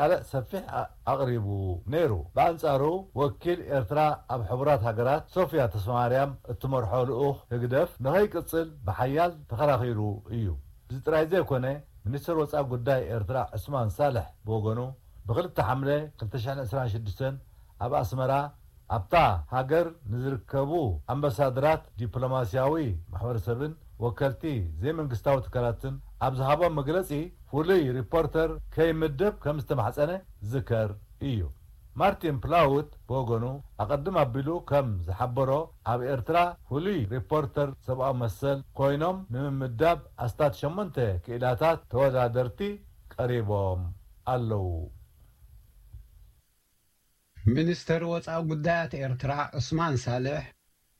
ካልእ ሰፊሕ ኣ-፣ ኣቕሪቡ ነይሩ። ብኣንጻሩ፣ ወኪል ኤርትራ ኣብ ሕቡራት ሃገራት ሶፍያ ተስፋማርያም እትመርሖ ልኡኽ ህግደፍ ንኸይቅጽል ብሓያል ተኸራኺሩ እዩ። እዚ ጥራይ ዘይኮነ፣ ሚኒስተር ወጻኢ ጉዳይ ኤርትራ ዑስማን ሳልሕ ብወገኑ፣ ብክልተ ሓምለ ክልተ ሽሕን ዕስራን ሽዱሽተን ኣብ ኣስመራ ኣብታ ሃገር ንዝርከቡ ኣምባሳደራት፣ ዲፕሎማስያዊ ማሕበረሰብን ወከልቲ ዘይመንግስታዊ ትካላትን ኣብ ዝሃቦ መግለጺ፣ ፍሉይ ሪፖርተር ከይምደብ ከም ዝተማሕጸነ ዝከር እዩ። ማርቲን ፕላውት ብወገኑ፣ ኣቐድም ኣቢሉ ከም ዝሓበሮ፣ ኣብ ኤርትራ ፍሉይ ሪፖርተር ሰብኣዊ መሰል ኮይኖም ንምምዳብ ኣስታት ሸሞንተ ክኢላታት ተወዳደርቲ ቀሪቦም ኣለዉ። ሚኒስተር ወጻኢ ጉዳያት ኤርትራ ዑስማን ሳልሕ፣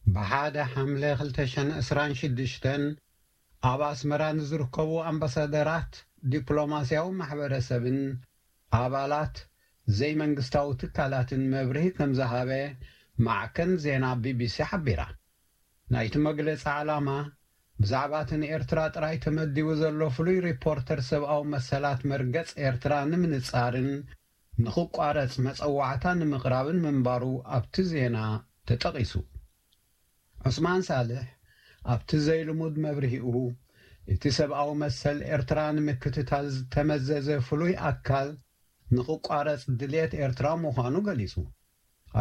ብሓደ ሓምለ ክልተ ሽሕን ዕስራን ሽዱሽተን ኣብ ኣስመራ ንዝርከቡ ኣምባሳደራት፣ ዲፕሎማስያዊ ማሕበረሰብን ኣባላት ዘይመንግስታዊ ትካላትን መብርሂ ከም ዝሃበ ማዕከን ዜና ቢቢሲ ሓቢራ። ናይቲ መግለጺ ዓላማ፣ ብዛዕባ እቲ ንኤርትራ ጥራይ ተመዲቡ ዘሎ ፍሉይ ሪፖርተር ሰብኣዊ መሰላት መርገጽ ኤርትራ ንምንጻርን ንኽቋረጽ መጸዋዕታ ንምቕራብን ምንባሩ ኣብቲ ዜና ተጠቒሱ። ዑስማን ሳልሕ ኣብቲ ዘይልሙድ መብርሂኡ፣ እቲ ሰብኣዊ መሰል ኤርትራ ንምክትታል ዝተመዘዘ ፍሉይ ኣካል ንኽቋረጽ ድልየት ኤርትራ ምዃኑ ገሊጹ።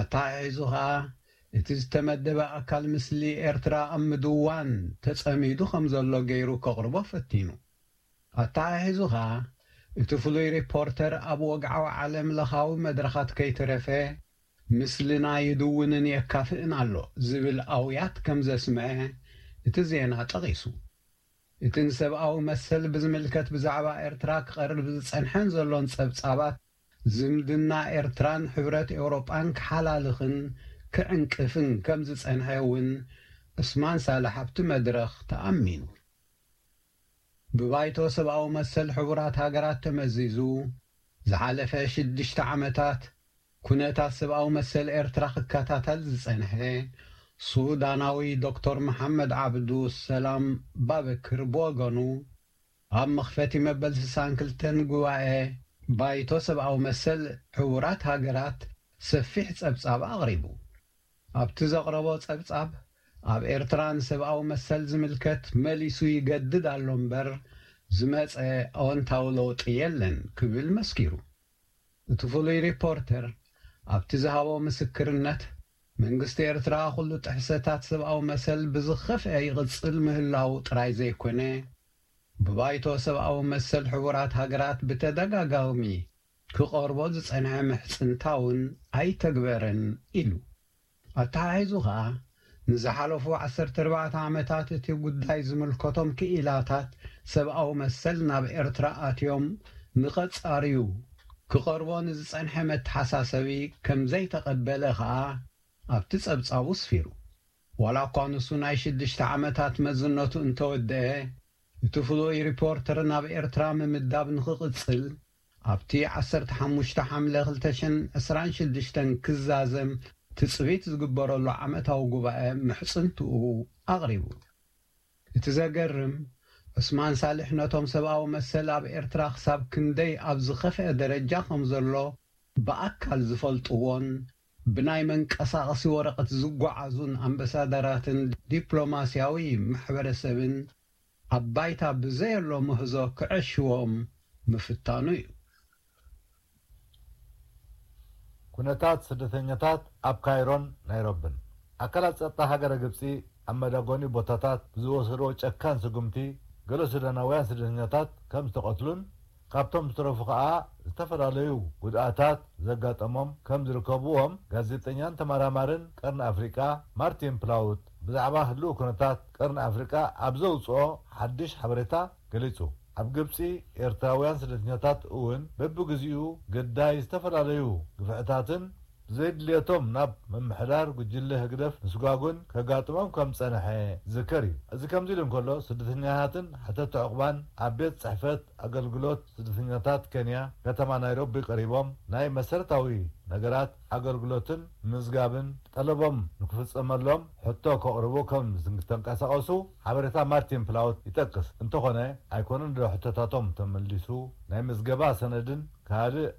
ኣተሓሒዙ ኸኣ፣ እቲ ዝተመደበ ኣካል ምስሊ ኤርትራ ኣብ ምድዋን ተጸሚዱ ከም ዘሎ ገይሩ ከቕርቦ ፈቲኑ። ኣተሓሒዙ ኸኣ፣ እቲ ፍሉይ ሪፖርተር ኣብ ወግዓዊ ዓለም ለኻዊ መድረኻት ከይተረፈ፣ ምስልና ይድውንን የካፍእን ኣሎ ዝብል ኣውያት ከም ዘስምዐ እቲ ዜና ጠቒሱ። እቲ ንሰብኣዊ መሰል ብዝምልከት ብዛዕባ ኤርትራ ክቐርብ ዝጸንሐን ዘሎን ጸብጻባት፣ ዝምድና ኤርትራን ሕብረት ኤውሮጳን ክሓላልኽን ክዕንቅፍን ከም ዝጸንሐ እውን ዑስማን ሳልሕ ኣብቲ መድረኽ ተኣሚኑ። ብባይቶ ሰብኣዊ መሰል ሕቡራት ሃገራት ተመዚዙ፣ ዝሓለፈ ሽዱሽተ ዓመታት ኩነታት ሰብኣዊ መሰል ኤርትራ ክከታተል ዝጸንሐ ሱዳናዊ ዶክተር መሓመድ ዓብዱ ሰላም ባበክር ብወገኑ፣ ኣብ መኽፈቲ መበል ስሳን ክልተን ጉባኤ ባይቶ ሰብኣዊ መሰል ሕቡራት ሃገራት ሰፊሕ ጸብጻብ ኣቕሪቡ። ኣብቲ ዘቕረቦ ጸብጻብ፣ ኣብ ኤርትራ ንሰብኣዊ መሰል ዝምልከት መሊሱ ይገድድ ኣሎ እምበር፣ ዝመጸ ኣወንታዊ ለውጢ የለን ክብል መስኪሩ። እቲ ፍሉይ ሪፖርተር ኣብቲ ዝሃቦ ምስክርነት፣ መንግስቲ ኤርትራ ኩሉ ጥሕሰታት ሰብኣዊ መሰል ብዝኸፍአ ይቕጽል ምህላዉ ጥራይ ዘይኮነ፣ ብባይቶ ሰብኣዊ መሰል ሕቡራት ሃገራት ብተደጋጋሚ ክቐርቦ ዝጸንሐ ምሕጽንታ እውን ኣይተግበረን ኢሉ። ኣተሓሒዙ ኸኣ፣ ንዝሓለፉ ዓሰርተ ኣርባዕተ ዓመታት እቲ ጉዳይ ዝምልከቶም ክኢላታት ሰብኣዊ መሰል ናብ ኤርትራ ኣትዮም ንኸጻርዩ ክቐርቦ ንዝጸንሐ መተሓሳሰቢ ከም ዘይተቐበለ ኸኣ ኣብቲ ጸብጻቡ ስፊሩ። ዋላ እኳ ንሱ ናይ ሽዱሽተ ዓመታት መዝነቱ እንተወደአ፣ እቲ ፍሉይ ሪፖርተር ናብ ኤርትራ ምምዳብ ንኽቕጽል፣ ኣብቲ ዓሰርተ ሓሙሽተ ሓምለ ክልተ ሽሕን ዕስራን ሽዱሽተን ክዛዘም ትጽቢት ዝግበረሉ ዓመታዊ ጉባኤ ምሕጽንትኡ ኣቕሪቡ። እቲ ዘገርም፣ ዑስማን ሳልሕ ነቶም ሰብኣዊ መሰል ኣብ ኤርትራ ክሳብ ክንደይ ኣብ ዝኸፍአ ደረጃ ከም ዘሎ ብኣካል ዝፈልጥዎን ብናይ መንቀሳቐሲ ወረቐት ዝጓዓዙን ኣምባሳደራትን ዲፕሎማስያዊ ማሕበረሰብን ኣብ ባይታ ብዘየሎ ምህዞ ክዕሽዎም ምፍታኑ እዩ። ኩነታት ስደተኛታት ኣብ ካይሮን ናይሮብን። ኣካላት ጸጥታ ሃገረ ግብጺ ኣብ መዳጎኒ ቦታታት ብዝወሰድዎ ጨካን ስጉምቲ፣ ገለ ሱዳናውያን ስደተኛታት ከም ዝተቐትሉን ካብቶም ዝተረፉ ከኣ ዝተፈላለዩ ጉድኣታት ዘጋጠሞም ከም ዝርከብዎም ጋዜጠኛን ተመራማርን ቀርኒ ኣፍሪቃ ማርቲን ፕላውት ብዛዕባ ህልው ኩነታት ቀርኒ ኣፍሪቃ ኣብ ዘውጽኦ ሓድሽ ሓበሬታ ገሊጹ። ኣብ ግብጺ ኤርትራውያን ስደተኛታት እውን በብግዚኡ ግዳይ ዝተፈላለዩ ግፍዕታትን ብዘይድልየቶም ናብ ምምሕዳር ጉጅለ ህግደፍ ምስጓጉን ከጋጥሞም ከም ዝጸንሐ ዝዝከር እዩ። እዚ ከምዚ ኢሉ እንከሎ፣ ስደተኛታትን ሓተቲ ዕቑባን ኣብ ቤት ጽሕፈት ኣገልግሎት ስደተኛታት ኬንያ ከተማ ናይሮቢ ቀሪቦም ናይ መሰረታዊ ነገራት ኣገልግሎትን ምዝጋብን ጠለቦም ንክፍጸመሎም ሕቶ ከቕርቡ ከም ዝተንቀሳቐሱ ሓበሬታ ማርቲን ፕላውት ይጠቅስ። እንተኾነ፣ ኣይኮነን ዶ ሕቶታቶም ተመሊሱ፣ ናይ ምዝገባ ሰነድን ካልእ